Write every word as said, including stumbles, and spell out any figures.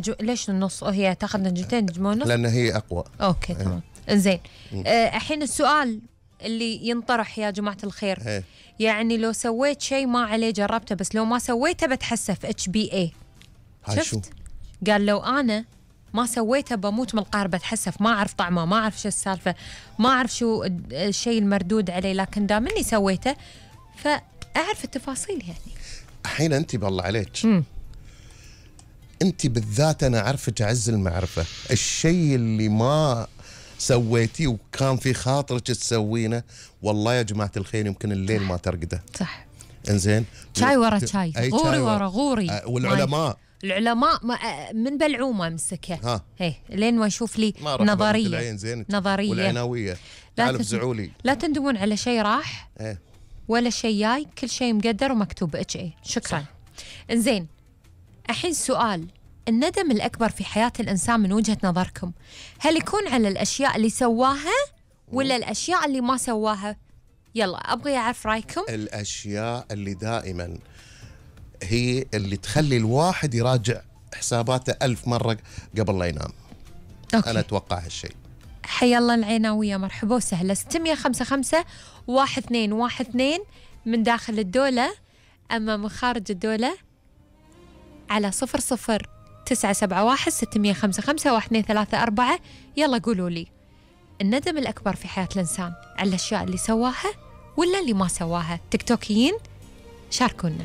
جو... ليش النص؟ هي تاخذ نجمتين نجمة ونص لأن هي أقوى. أوكي تمام. إنزين آه الحين السؤال اللي ينطرح يا جماعة الخير هي. يعني لو سويت شيء ما عليه جربته بس لو ما سويته بتحسف اتش بي اي. شفت؟ قال لو أنا ما سويته بموت من القهر بتحسف، ما أعرف طعمه، ما أعرف شو السالفة، ما أعرف شو الشيء المردود عليه، لكن دام إني سويته فأعرف التفاصيل. يعني الحين أنت بالله عليك م. أنت بالذات أنا أعرفك عز المعرفة، الشيء اللي ما سويتيه وكان في خاطرك تسوينه والله يا جماعة الخير يمكن الليل ما ترقده. صح. إنزين شاي ورا شاي، غوري ورا غوري. أه والعلماء العلماء من بلعومه مسكه ها هي لين ما يشوف لي نظريه نظريه والعناويه. تعالوا افزعوا لي. لا تندمون على شيء راح ايه ولا شيء جاي، كل شيء مقدر ومكتوب اتش اي. شكرا. انزين الحين سؤال، الندم الأكبر في حياة الإنسان من وجهة نظركم هل يكون على الأشياء اللي سواها ولا الأشياء اللي ما سواها؟ يلا أبغي أعرف رأيكم. الأشياء اللي دائما هي اللي تخلي الواحد يراجع حساباته ألف مرة قبل لا ينام. أوكي. أنا أتوقع هالشيء. حيا الله العناوية، مرحبا وسهلا. ستمية خمسة خمسة واحد اثنين واحد اثنين من داخل الدولة، أما من خارج الدولة على صفر صفر تسعة سبعة واحد ستمية خمسة خمسة واحد اثنين ثلاثة أربعة. يلا قولوا لي الندم الأكبر في حياة الإنسان على الأشياء اللي سواها ولا اللي ما سواها؟ تيك توكيين شاركونا.